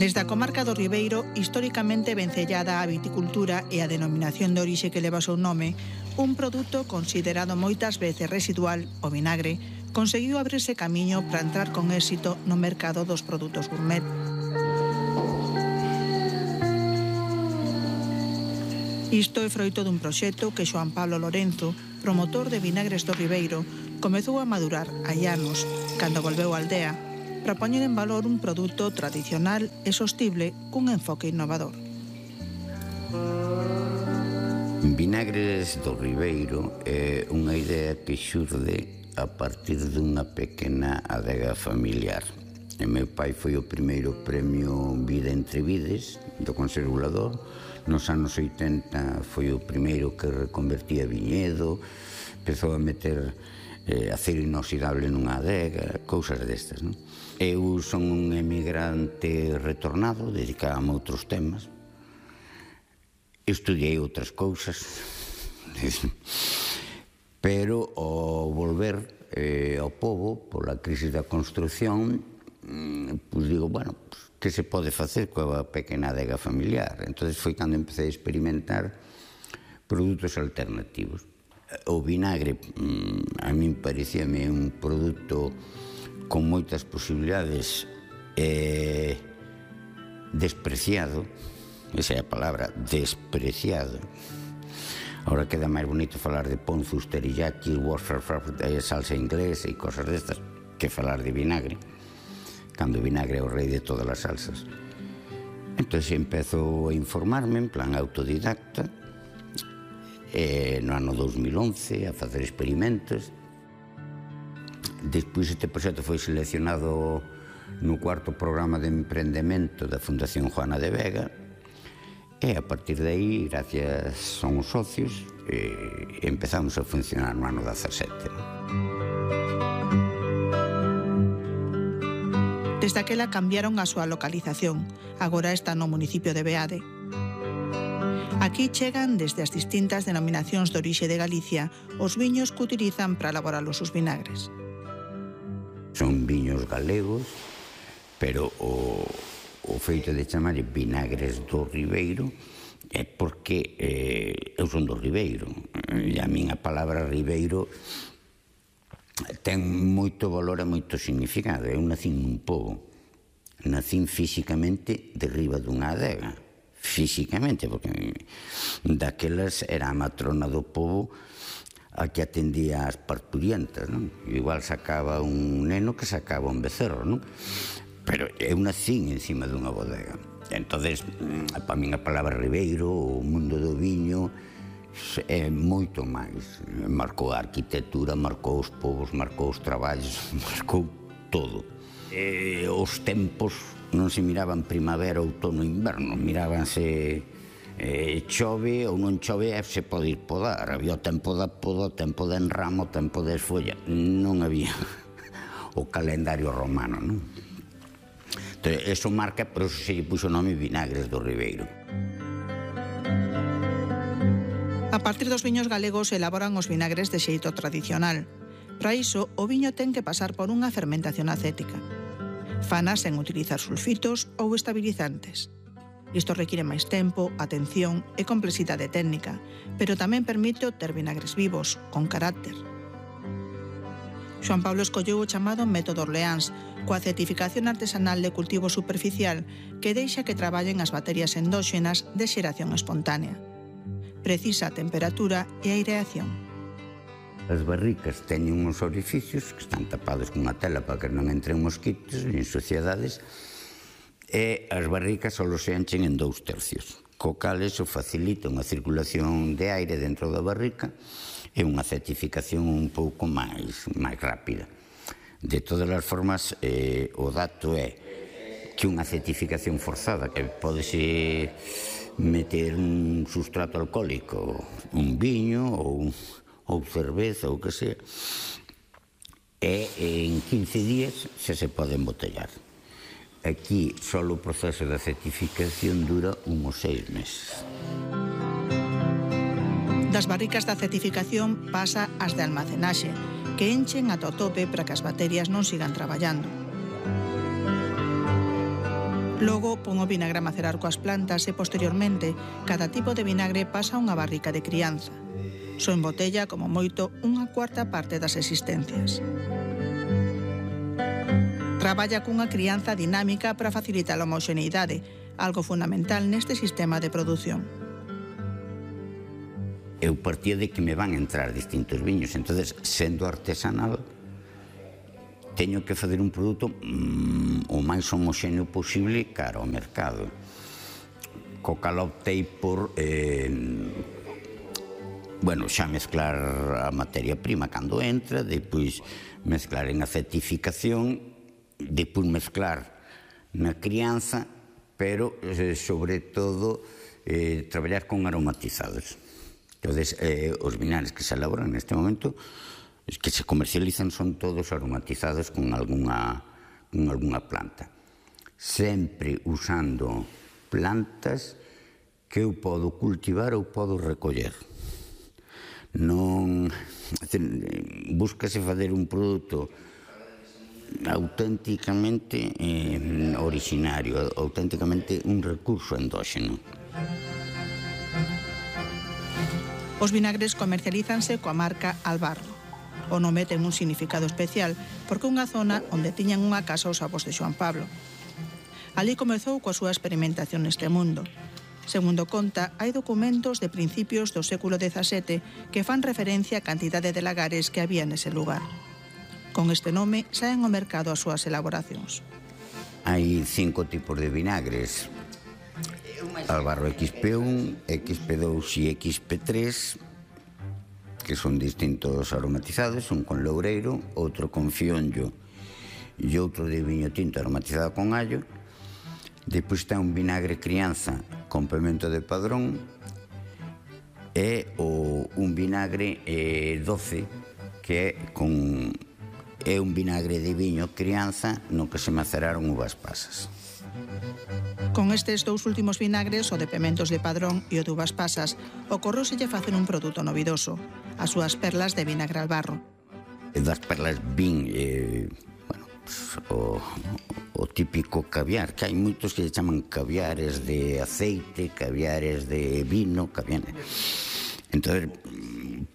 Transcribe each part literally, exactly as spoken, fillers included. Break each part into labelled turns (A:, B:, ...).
A: Desde a comarca do Ribeiro, históricamente vencellada á viticultura e a denominación de orixe que leva o seu nome, un produto considerado moitas veces residual, o vinagre, conseguiu abrirse camiño para entrar con éxito no mercado dos produtos gourmet. Isto é froito dun proxecto que Xoán Pablo Lorenzo, promotor de Vinagres do Ribeiro, comezou a madurar hai anos, cando volveu á aldea, para poñer en valor un produto tradicional e sostible cun enfoque innovador.
B: Vinagres do Ribeiro é unha idea que xurde a partir dunha pequena adega familiar. E meu pai foi o primeiro premio Vida entre Vides do Conservador. Nos anos oitenta foi o primeiro que reconvertía viñedo, empezou a meter eh, acero inoxidable nunha adega, cousas destas, non? Eu son un emigrante retornado, dedicábame a outros temas, estudiei outras cousas, pero ao volver eh, ao pobo, pola crise da construción, pois digo, bueno, pues, que se pode facer coa pequena adega familiar? Entón foi cando empecé a experimentar produtos alternativos. O vinagre, a min parecíame un produto con moitas posibilidades, eh, despreciado, esa é a palabra, despreciado. Ahora queda máis bonito falar de ponzus, teriyaki, salsa inglesa e cosas destas que falar de vinagre, cando o vinagre é o rei de todas as salsas. Entón empezo a informarme en plan autodidacta, e no ano dos mil once a facer experimentos. Despois este proxecto foi seleccionado no cuarto programa de emprendemento da Fundación Juana de Vega, e a partir de aí, gracias somos socios, eh, empezamos a funcionar no ano dezasete.
A: Desde aquela cambiaron a súa localización, agora está no municipio de Beade. Aquí chegan desde as distintas denominacións de orixe de Galicia os viños que utilizan para elaborar os seus vinagres.
B: Son viños galegos, pero o, o feito de chamar Vinagres do Ribeiro é porque eh, eu son do Ribeiro, e a min a palabra Ribeiro ten moito valor e moito significado. Eu nacín nun pobo, nacín físicamente derriba dunha adega, físicamente, porque daquelas era a matrona do pobo a que atendía as parturientas, non? Igual sacaba un neno que sacaba un becerro, non? Pero eu nacín encima dunha bodega. Entonces, para min a palabra Ribeiro, o mundo do viño, é moito máis. Marcou a arquitectura, marcou os povos, marcou os traballos, marcou todo. E os tempos non se miraban primavera, outono, inverno, mirábanse eh, chove ou non chove e se pode ir podar. Había o tempo da poda, o tempo de enramo, o tempo de esfolla. Non había o calendario romano, non? Entón, eso marca, por eso se lle puxo o nome Vinagres do Ribeiro.
A: A partir dos viños galegos elaboran os vinagres de xeito tradicional. Para iso, o viño ten que pasar por unha fermentación acética. Fanas sen utilizar sulfitos ou estabilizantes. Isto require máis tempo, atención e complexidade técnica, pero tamén permite obter vinagres vivos, con carácter. Xoán Pablo escolleu o chamado método Orleáns, coa certificación artesanal de cultivo superficial que deixa que traballen as bacterias endóxenas de xeración espontánea. Precisa a temperatura e a aireación.
B: As barricas teñen uns orificios que están tapados cunha tela para que non entren mosquitos nin suciedades, e as barricas só se enchen en dous tercios, co cal eso facilita unha circulación de aire dentro da barrica e unha certificación un pouco máis, máis rápida. De todas as formas, eh, o dato é que unha certificación forzada, que podese meter un sustrato alcohólico, un viño ou, ou cerveza ou que sea, e en quince días xa se pode embotellar. Aquí só o proceso da certificación dura uns seis meses.
A: Das barricas da certificación pasa ás de almacenaxe, que enchen ata o tope para que as bacterias non sigan traballando. Logo, pon o vinagre a macerar coas plantas e, posteriormente, cada tipo de vinagre pasa a unha barrica de crianza. Só embotella, como moito, unha cuarta parte das existencias. Traballa cunha crianza dinámica para facilitar a homoxeneidade, algo fundamental neste sistema de produción.
B: Eu partía de que me van entrar distintos viños, entonces, sendo artesanal, teño que fazer un produto mmm, o máis homoxéneo posible cara ao mercado. Co cal optei por eh, bueno, xa mezclar a materia prima cando entra, depois mezclar en acetificación, depois mezclar na crianza, pero eh, sobre todo eh, traballar con aromatizados. Entonces, eh, os vinagres que se elaboran neste momento, que se comercializan, son todos aromatizados con algunha, con algunha planta. Sempre usando plantas que eu podo cultivar ou podo recoller. Non, búscase fazer un produto auténticamente eh, originario, auténticamente un recurso endóxeno.
A: Os vinagres comercialízanse coa marca Albarro. O nome ten un significado especial porque é unha zona onde tiñan unha casa os avós de Xoán Pablo. Alí comezou coa súa experimentación neste mundo. Segundo conta, hai documentos de principios do século dezasete que fan referencia á cantidade de lagares que había nese lugar. Con este nome saen ao mercado as súas elaboracións.
B: Hai cinco tipos de vinagres: Albarro equis pe un, equis pe dous e equis pe tres, que son distintos aromatizados, un con loureiro, outro con fionllo e outro de viño tinto aromatizado con allo. Depois está un vinagre crianza con pemento de padrón e o, un vinagre eh, doce, que é con é un vinagre de viño crianza no que se maceraron uvas pasas.
A: Con estes dous últimos vinagres, o de pementos de padrón e o de uvas pasas, ocorróselle facer un produto novidoso, as súas perlas de vinagre Albarro.
B: Das perlas vin, eh, bueno, pues, o, o típico caviar, que hai moitos que lle chaman caviares de aceite, caviares de vino, caviares. Entón,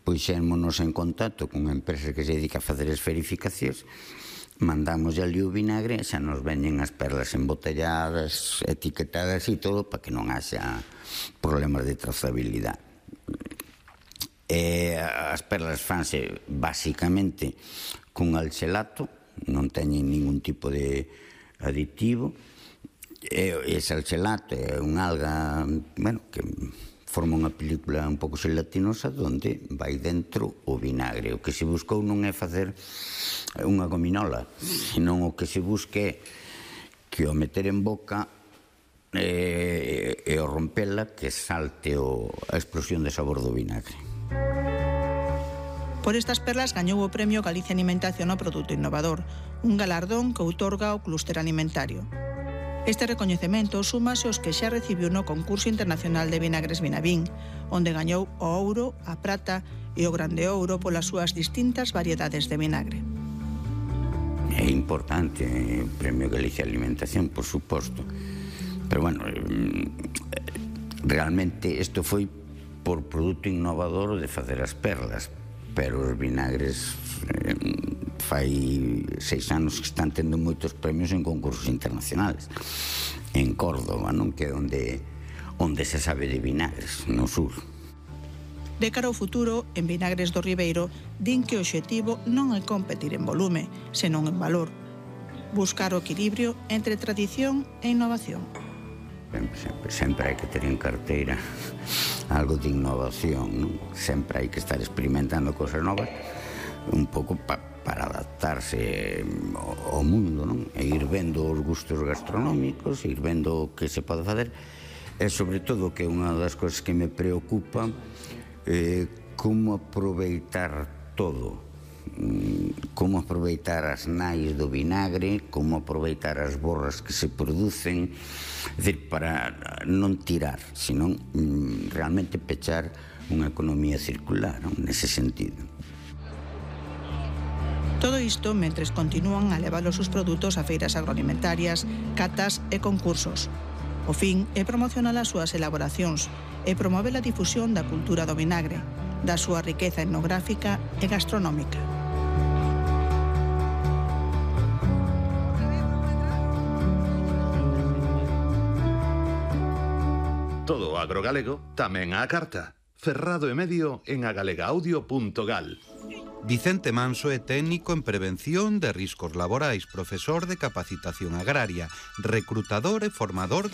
B: puxémonos en contacto con unha empresa que se dedica a facer as verificacións, mandamos ali o vinagre, xa nos veñen as perlas embotelladas, etiquetadas e todo, para que non haxa problemas de trazabilidade. E as perlas fanse basicamente con alxelato, non teñen ningún tipo de aditivo, e ese alxelato é unha alga, bueno, que forma unha película un pouco gelatinosa onde vai dentro o vinagre. O que se buscou non é facer unha gominola, senón o que se busque que o meter en boca e, e o rompela, que salte o, a explosión de sabor do vinagre.
A: Por estas perlas gañou o Premio Galicia Alimentación ao Produto Innovador, un galardón que outorga o Clúster Alimentario. Este recoñecemento súmase aos que xa recibiu no Concurso Internacional de Vinagres Vinavín, onde gañou o ouro, a prata e o grande ouro polas súas distintas variedades de vinagre.
B: É importante o Premio Galicia Alimentación, por suposto. Pero, bueno, realmente isto foi por produto innovador de facer as perlas, pero os vinagres eh, fai seis anos que están tendo moitos premios en concursos internacionales. En Córdoba, non? Que é onde, onde se sabe de vinagres, no sur.
A: De cara ao futuro, en Vinagres do Ribeiro, din que o obxectivo non é competir en volume, senón en valor. Buscar o equilibrio entre tradición e innovación.
B: Sempre, sempre, sempre hai que ter en carteira algo de innovación, non? Sempre hai que estar experimentando cosas novas, un pouco pa, para adaptarse ao mundo, non? E ir vendo os gustos gastronómicos, ir vendo o que se pode facer, e sobre todo que unha das cousas que me preocupa é como aproveitar todo, como aproveitar as nais do vinagre, como aproveitar as borras que se producen, é dicir, para non tirar, senón realmente pechar unha economía circular, non? Nese sentido.
A: Todo isto mentres continúan a levar os seus produtos a feiras agroalimentarias, catas e concursos. O fin é promocionar as súas elaboracións e promover a difusión da cultura do vinagre, da súa riqueza etnográfica e gastronómica.
C: Todo o agrogalego tamén á carta. Ferrado e medio en agalegaudio punto gal.
D: Vicente Manso é técnico en prevención de riscos laborais, profesor de capacitación agraria, recrutador e formador de